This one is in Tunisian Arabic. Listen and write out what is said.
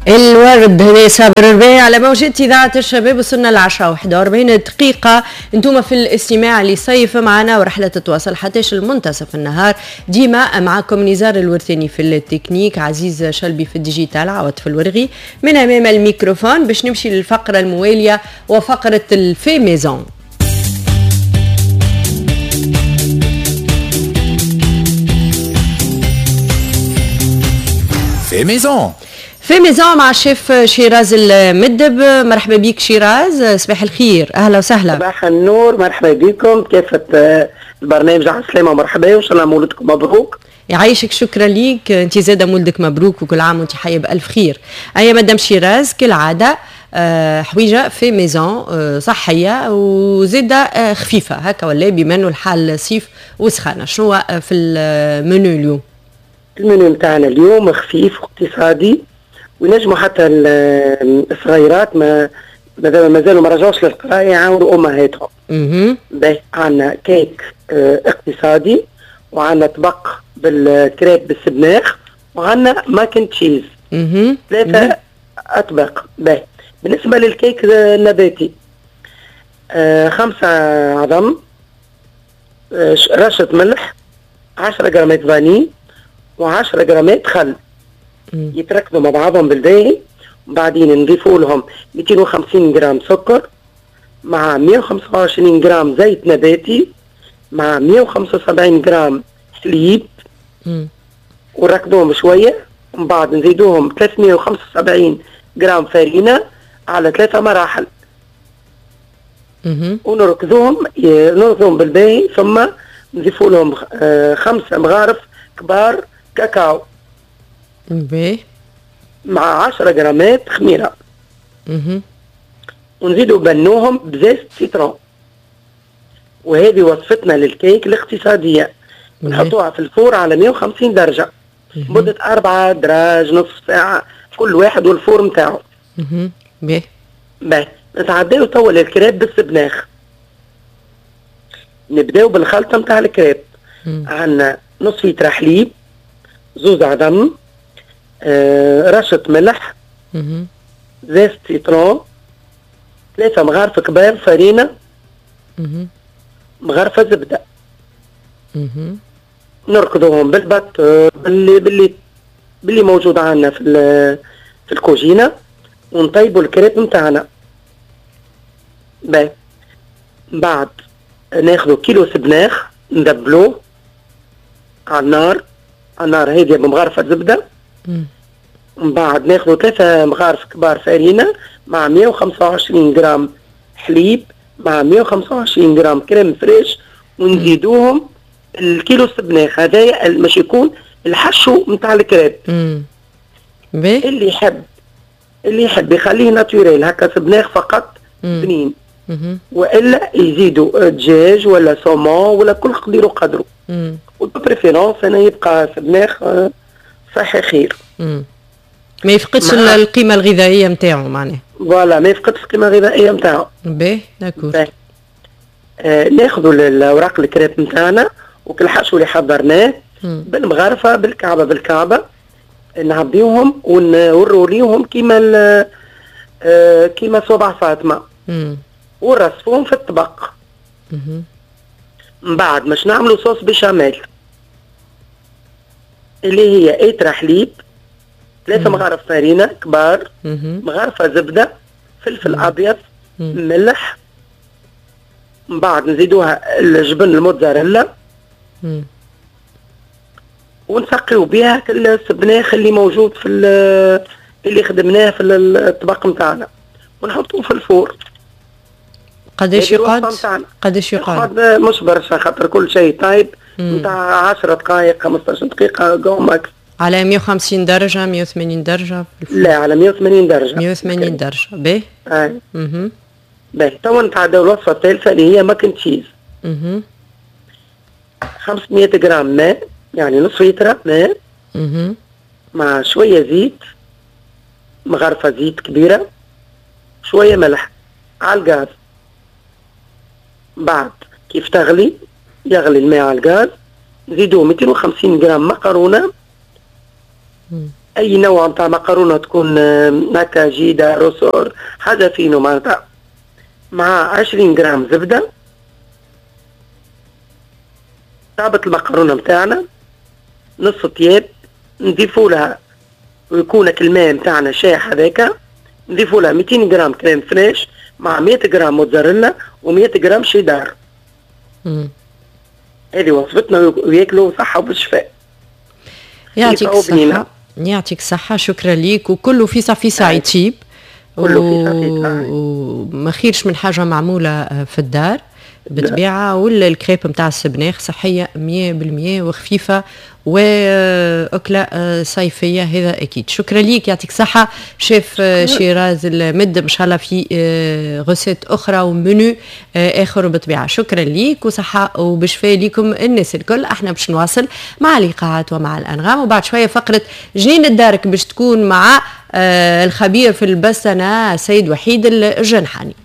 الورد هذا صابر الرباعي على موجة إذاعة الشباب. وصلنا العشرة 41 دقيقة، انتم في الاستماع لصيف معنا ورحلة تتواصل حتى المنتصف النهار. ديما معكم نزار الورثاني في التكنيك، عزيز شلبي في ال digital، عوض في الورغي من أمام الميكروفون. باش نمشي للفقرة الموالية وفقرة ال fait maison. fait maison، fait maison مع الشيف شيراز المدب. مرحبا بك شيراز، صباح الخير، اهلا وسهلا. صباح النور، مرحبا بكم كافة البرنامج، على السلامة ومرحبا، وان شاء الله مولدكم مبروك. يعيشك، شكرا ليك، انت زاده مولدك مبروك وكل عام وانت حيه بالف خير. ايا مدام شيراز، كالعادة حويجه fait maison صحية وزاده خفيفة هكا ولا، بما انه الحال صيف وسخانه. شنو في المنيو اليوم؟ المنيو نتاعنا اليوم خفيف واقتصادي، وينجموا حتى الصغيرات ما مازالوا ما رجعوش للقرايه يعاونوا امهاتهم. باهي، عندنا كيك اقتصادي، وعندنا طبق بالكريب بالسبناخ، وعندنا mac and cheese. ثلاثة اطباق. باهي، بالنسبة للكيك النباتي، 5 عظم، رشه ملح، 10 جرامات فاني، و10 جرامات خل. يتركزوا مع بعضهم بالباهي، وبعدين نضيفوا لهم 250 جرام سكر مع 125 جرام زيت نباتي مع 175 جرام حليب، ونركضوهم شوية، ومن بعد نزيدوهم 375 جرام فرينه على 3 مراحل، ونركضوهم نركضوهم بالباهي، ثم نضيفوا لهم 5 مغارف كبار كاكاو مع 10 جرامات خميره، ونزيدوا بنوهم ب zeste citron. وهذه وصفتنا للكيك الاقتصادية. نحطوها في ال four على 150 درجه مده 4 دراج، نصف ساعة كل واحد وال four نتاعو. باهي. باهي، نتعداو توا للكريب بالسبناخ. نبداو بالخلطه نتاع الكريب. عندنا نص لتر حليب، 2 عظم، رشة ملح، zeste citron، 3 مغارف كبار فرينة، مغرفة زبدة. نركضوهم بال batteur باللي موجود عندنا في الكوجينة، ونطيبوا الكريب نتاعنا. باهي، بعد ناخذوا كيلو سبناخ ندبلوه على النار، على النار هادية بمغرفة زبدة. من بعد ناخذوا 3 مغارف كبار فرينة مع 125 جرام حليب مع 125 جرام crème fraîche، ونزيدوهم الكيلو السبناخ هذايا باش يكون الحشو نتاع الكريب. اللي يحب يخليه naturel هكا سبناخ فقط بنين، والا يزيدوا دجاج ولا saumon ولا كل قدير وقدره. و de préférence انا يبقى سبناخ صحي خير. ما يفقدش القيمة الغذائية نتاعو معناها. voilà، ما يفقدش القيمة الغذائية نتاعو. باهي، d'accord. ناخذوا الاوراق الكريب نتاعنا وكل حشو اللي حضرناه بالمغرفه بالكعبة بالكعبة، نعبيوهم ونروليوهم كيما صبع فاطمة، ونرصفوهم في الطبق. من بعد باش نعملوا sauce béchamel اللي هي ايترا حليب، 3 مغارف فرينه كبار، مغرفه زبدة، فلفل ابيض، ملح. من بعد نزيدوها الجبن الموتزاريلا، ونسقيو بها السبناخ اللي موجود في اللي خدمناه في الطبق نتاعنا، ونحطوه في ال four. قداش يقعد؟ قداش يقعد؟ مش برشا خاطر كل شيء طيب، نتاع 10 دقائق 15 دقيقة grand max. على 150 درجة، 180 درجة؟ لا، على 180 درجة. 180 درجة، باهي. اي باهي، توا نتعداو الوصفة الثالثة اللي هي mac and cheese. 500 جرام ماء، يعني نص لتر ماء، مع شوية زيت، مغرفة زيت كبيرة، شوية ملح، على الغاز. بعد كيف تغلي، يغلي الماء على الغاز، نزيدو 250 جرام مكرونة. اي نوع نتاع مقرونة تكون هكا جيدة ressort حاجة فينو معناتها، مع 20 جرام زبدة. طابت المقرونه نتاعنا نص طياب، نضيفوا لها ويكون الماء نتاعنا شاح هذاك، نضيفوا لها 200 جرام crème fraîche مع 100 جرام موتزاريلا و100 جرام شيدار. هذه وصفتنا وياكلوا صحة وبالشفاء. يعطيك الصحة، يعطيك الصحة، شكرا ليك. وكله في فيسع يطيب، كله في فيسع، وما خيرش من حاجة معمولة في الدار بالطبيعة. ولا الكريب نتاع السبناخ صحية 100% وخفيفة وأكلة صيفية، هذا أكيد. شكرا ليك، يعطيك صحة شيف شيراز المد، إن شاء الله في recette أخرى ومنيو آخر بالطبيعة. شكرا ليك وصحة وبشفاء ليكم الناس الكل. احنا باش نواصل مع الإيقاعات ومع الأنغام، وبعد شوية فقرة جنين الدارك باش تكون مع الخبير في البستنة السيد وحيد الجنحاني.